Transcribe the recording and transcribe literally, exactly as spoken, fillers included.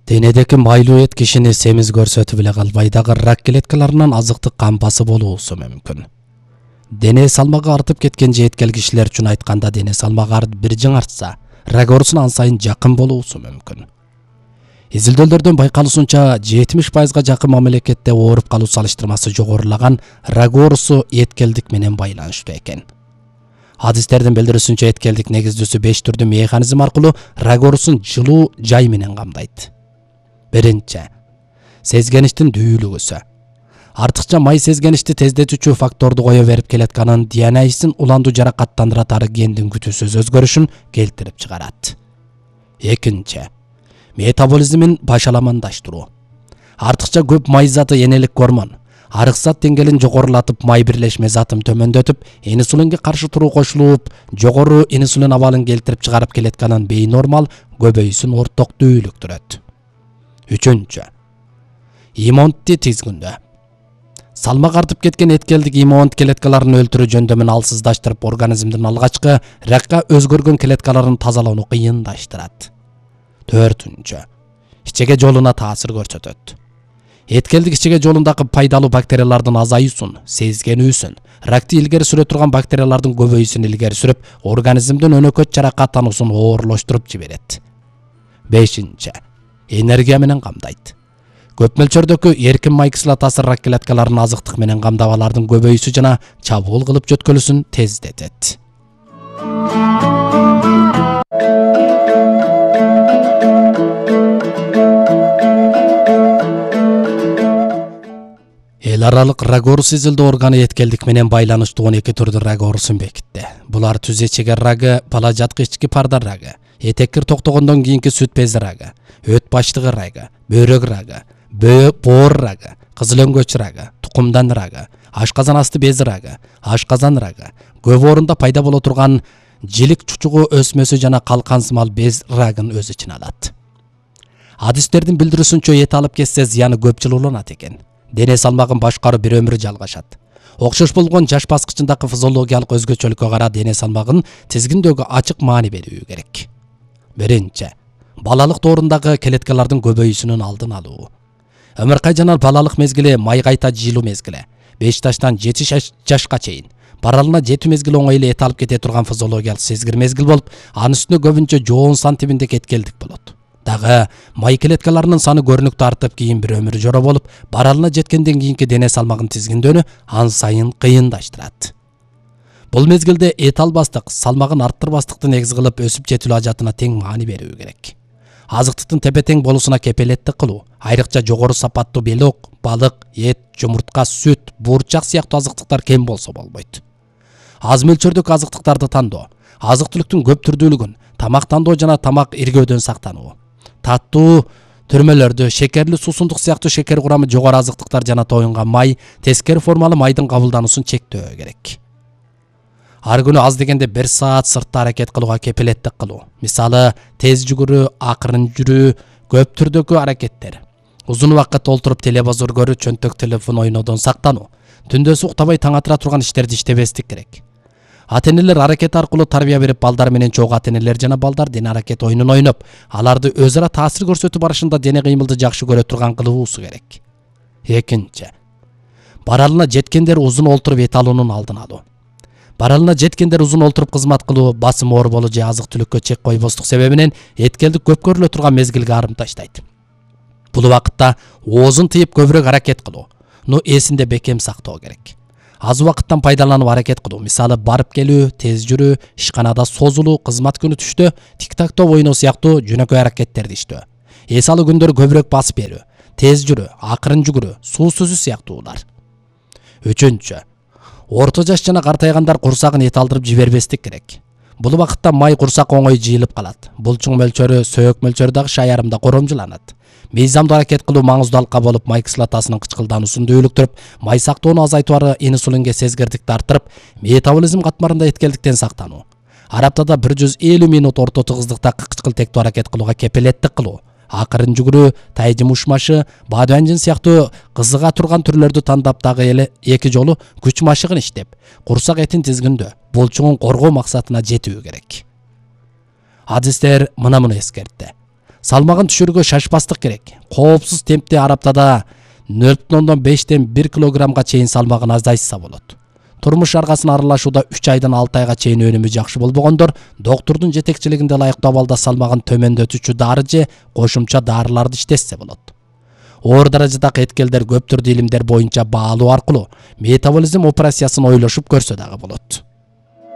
Денедеки майлуу эт кишини семиз көрсөтүп эле калбай дагы рак клеткаларынан азыктык кампасы болуусу мүмкүн. Дене салмагы артып кеткен жеткел кишилер үчүн айтканда дене салмагы артып бир жиң артса, рак оорусуна ан сайын жакын болуусу мүмкүн. Изилдөөлөрдөн байкалуусунча жетимиш пайызга жакын мамлекетте ооруп калуу салыштырмасы жогорулаган рак оорусу эткелдик менен байланыштуу экен. Адистердин билдирүүсүнчө эткелдик негиздүүсү беш түрдүү механизм аркылуу рак оорусун жылуу жай менен камдайт. Биринчи, сезгеништин дүүлүгүсү. Артыкча май сезгеништи тездетүүчү факторду кое берип келатканын ди эн эйсин уланду жаракаттандыратары гендин күтүүсүз өзгөрүшүн келтирип чыгарат. Экинчи, метаболизмин башаламандаштыруу. Артыкча көп май заты энелик гормон, арык зат деңгээлин жогорулатып, май бирлешме затын төмөндөтүп, инсулинге каршы туруу кошулуп, жогору инсулин абалын келтирип чыгарып келатканын бейнормал көбөйүүсүн орток дүүлүктүрөт. Үчүнчү, иммунитет тизгүндө. Салмак артып кеткен эткелдик иммунит клеткаларын өлтүрүү жөндөмүн алсыздаштырып, организмдин алгачкы ракка өзгөргөн клеткаларын тазалоону кыйындаштырат. Төртүнчү, ичеге жолуна таасир көрсөтөт. Эткелдик ичеге жолундагы пайдалуу бактериялардын азаюусун, сезгенүүсүн, ракты илгери сүрө турган бактериялардын көбөйүүсүн илгери сүрүп, организмдин өнөкөт жаракаттануусун оорлоштуруп жиберет. Бешинчи, энергия менен камдайт. Көп мөлчөрдөгү эркин май кислотасы рак клеткаларын азыктык менен камдап, алардын көбөйүүсү жана чабуул кылып жөткөлүүсүн тездетет. Эл аралык рак оорусу изилдөө органы эткелдик менен байланыштуу он эки түрдүү рак оорусун бекитти. Булар түз ичегер рагы, бала жаткы ички парда рагы, этеккир токтогондон кийинки сүт бези рагы, өт баштыгы рагы, бөйрөк рагы, боор рагы, кызыл өңгөч рагы, тукумдан рагы, ашказан асты бези рагы, ашказан рагы, көп орунда пайда боло турган жилик чучугу өсмөсү жана калкансымал без рагын өз ичине алат. Адистердин билдирүүсүнчө эт алып кетсе зыяны көп жыл уланат экен. Дене салмагын башкаруу бир өмүр жалгашат. Окшош болгон жаш баскычындагы физиологиялык өзгөчөлүккө карап дене салмагын тизгиндөөгө ачык маани берүү керек. Биринчи, балалык доорундагы клеткалардын көбөйүүсүнүн алдын алуу. Өмүркай жана балалык мезгили май кайта жыйылуу мезгили. беш жаштан жети жашка чейин баралына жетүү мезгили оңой эле эт алып кете турган физиологиялык сезгир мезгил болуп, анын үстүнө көбүнчө жоон сан тибиндеги эткелдик болот. Дагы май клеткаларынын саны көрүнүктүү артып, кийин бир өмүр жора болуп, баралына жеткенден кийинки дене салмагын тизгиндөөнү ан сайын кыйындаштырат. Бул мезгилде эт албастык, салмагын арттырбастыкты негиз кылып, өсүп жетилүү ажатына тең маани берүү керек. Азыктыктын тепе-тең болуусуна кепелеттик кылуу, айрыкча жогору сапаттуу белок, балык, эт, жумуртка, сүт, буурчак сыяктуу азыктыктар кем болсо болбойт. Аз мөлчөрдөгү азыктыктарды тандоо, азык-түлүктүн көп түрдүүлүгүн, тамак тандоо жана тамак иргөөдөн сактануу. Таттуу түрмөлөрдү, шекерлүү суусундук сыяктуу шекер курамы жогору азыктыктар жана тоюнган май, тескери формалуу майдын кабылдануусун чектөө керек. Ар күнү аз дегенде бир саат сыртта аракет кылууга кепелеттик кылуу. Мисалы, тез жүгүрүү, акырын жүрүү, көп түрдөгү аракеттер. Узун убакыт олтуруп телевизор көрүү, чөнтөк телефон ойнодон сактануу. Түндөсү уктабай таң атыра турган иштерди иштебестик керек. Ата-энелер аракет аркылуу тарбия берип, балдар менен чогуу ата-энелер жана балдар дене аракет оюнун ойноп, аларды өз ара таасир көрсөтүү барышында дене кыймылды жакшы көрө турган кылуусу керек. Экинчи, баралына жеткендер узун олтуруп эт алуунун алдын алуу. Баралына жеткендер узун олтуруп кызмат кылуу, басым оор болуу же азык-түлүккө чек койбостук себебинен эткелдик көп көрүлө турган мезгилге арым таштайт. Бул убакытта оозун тыйып көбүрөөк аракет кылуу, ну эсинде бекем сактоо керек. Аз убакыттан пайдаланып аракет кылуу, мисалы барып келүү, тез жүрүү, ишканада созулуу, кызмат күнү түштө тик-тактоо ойноо сыяктуу жөнөкөй аракеттерди иштөө. Эс алуу күндөрү көбүрөөк басып берүү, тез жүрүү, акырын жүгүрүү, суу сүзүү сыяктуулар. Үчүнчү, орто жаш жана картайгандар курсагын эт алдырып жибербестик керек. Бул убакытта май курсак оңой жыйылып калат. Булчуң мөлчөрү, сөйөк мөлчөрү дагы шайарымда коромжуланат. Мыйзамдуу аракет кылуу маңыздуу алка болуп, май кислотасынын кычкылдануусун дүүлүктүрүп, май сактоону азайтуу инсулинге сезгирдикти арттырып, метаболизм катмарында эткелдиктен сактануу. Ар аптада бир жүз элүү минут орто тыгыздыкта кычкылтектүү аракет кылууга кепелеттик кылуу. Акырын жүгүрүү, тайжым ушмашы, бадыбанжын сыяктуу кызыга турган түрлөрдү тандап, дагы эле эки жолу күч машыгын иштеп, курсак этин тизгиндөө, булчуңун коргоо максатына жетүү керек. Адистер мына муну эскертти. Салмагын түшүрүүгө шашпастык керек. Коопсуз темпте ар аптада нөл бүтүн ондон бештен бир килограммга чейин салмагын азайтса болот. Турмуш аргасын аралашууда үч айдан алты айга чейин өнүмү жакшы болбогондор доктурдун жетекчилигинде ылайыктуу абалда салмагын төмөндөтүүчү дары же кошумча дарыларды иштетсе болот. Оор даражадагы эткелдер көп түрдүү илимдер боюнча баалуу аркылуу метаболизм операциясын ойлошуп көрсө дагы болот.